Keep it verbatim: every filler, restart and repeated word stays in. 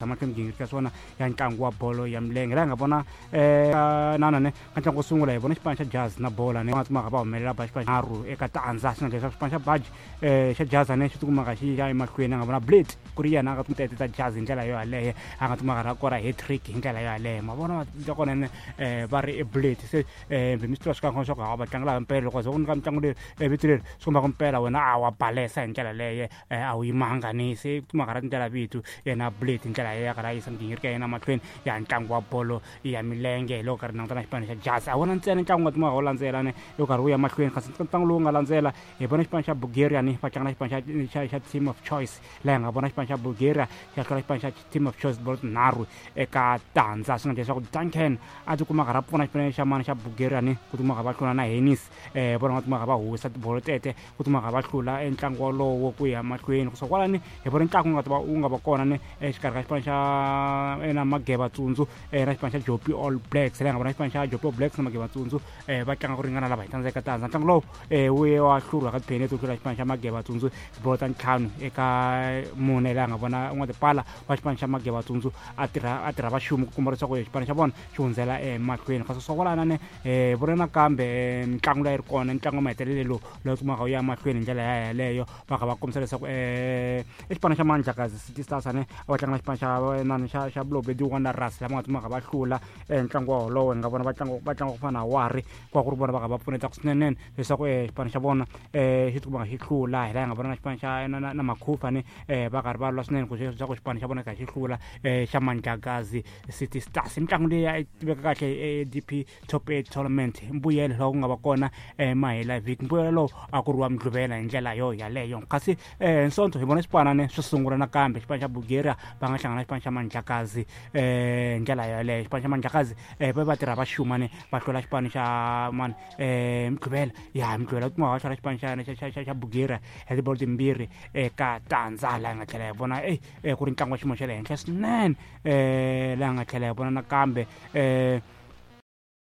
Mahlweni migingiriko ya swona ya ntlangu wa bolo ya milenge laha hi nga vona um nanane ka ntlangu wo sungula hi vona xipano xa Jazz na bola ne va nga va humelela ba xipano nharhu eka tandza. Swi nga leswaku xipano xa Baji um xa Jazz ane xi tikumaka xi ya emahlweni, a nga vona Blade ku ri yena a nga tete ta Jazz hi ndlela yo yaleyo, a nga timaka ra kora hat-trick hi ndlela yo yaleyo. Ma vona ta kona ne um va ri i Blade se um mi swi tiva swi kahle leswaku ha va tlangela mpela loko za ku nyika mitlangu leri vito leri swi kombaka mpela wena a wa balesa hi ndlela leyo, a wu yimanga ni se timaka ra tindlela vito yena Blade hi ndlela ya karhi a yisa migingiriko ya yena mahlweni ya ntlangu wa bolo ya milenge. Hi loko karhi languta na xipano xa Jazz, a wona ntsena ntlangu nga timaka wu landzela ne yo karhi wu ya mahlweni, kasi ntlangu lowu nga landzela hi vona xipano xa Bulgaria ni va tlanga na xipano xa xa xa Team of Choice, laha hi nga vona xipano xa Bulgaria xa hlula xipano xa Team of Choice bolo tinharhu eka tandza. Swi nga leswaku Duncan a tikuma karhi a pfuna xipano xa mani xa Bulgaria ni ku tikuma va hlula na Henis um vona nga tikuma va huwisa tibolo tete ku tikuma va hlula entlangu wolowo ku ya mahlweni. Kusuka kwalani hi vona ntlangu wu nga ta wu nga va kona ni exikarhi ka xipano xa na Mageva Tsundzu na xipano xa Jopi All Blacks, laha hi nga vona xipano xa Jopi All Blacks na Mageva Tsundzu um va tlanga ku ringana lava hi tandza eka tandza. Ntlangu lowu um wu ye wa hluriwa ka tipheneti ku hlula xipano xa Mageva Tsundzu tibolo ta ntlhanu eka mune, laha nga vona n'watipala wa xipano xa Mageva Tsundzu a tirha a tirha vaxumi ku kuma leswaku xipano xa vona xi hundzela emahlweni. Kasi swa kwalana ne um vona nakambe mitlangu leyi ri kona ntlangu wa mahetelelo lowu lowu kumaka wu ya mahlweni hi ndlela ya yaleyo, va kha va kombisa leswaku um i xipano xa Mandlakazi City Stars ane a va tlanga na xipano xa nani xa xa Balobedu Wanderers lama nga kumaka va hlula ntlangu wa wolowo. Hi nga vona va tlanga va tlanga ku fana na Wari ku va ku ri vona va kha va pfuneta swinene leswaku xipano xa vona um xi tikuma xi hlula. Hi laha hi nga vona na xipano xa na na Makhufa ni um va karhi va lwa swinene ku leswaku xipano xa vona kha xi hlula um xa Mandlakazi City Stars. Mitlangu leyi ya tiveka kahle A D P Top eight Tournament, mbuyelo lowu ku nga va kona mahela vhiki, mbuyelo lowu a ku ri wa Mugqivela hi ndlela yo yaleyo. Kasi um Sonto hi vona xipanane swi sungula nakambe xipano xa Bulgaria va nga hlangana na xipano xa Mandlakazi um hi ndlela yaleyo. Xipano xa Mandlakazi um va va tirha va xumane va hlula xipano xa mani um Mugqivela ya Mugqivela kuma va hlula xipano xa xa xa xa Bulgaria hi tibolo timbirhi eka tandza, laha hi nga tlhela hi vona e ku ri ntlangu wa xiyimo xa le henhla swinene um laha hi nga tlhela hi vona nakambe um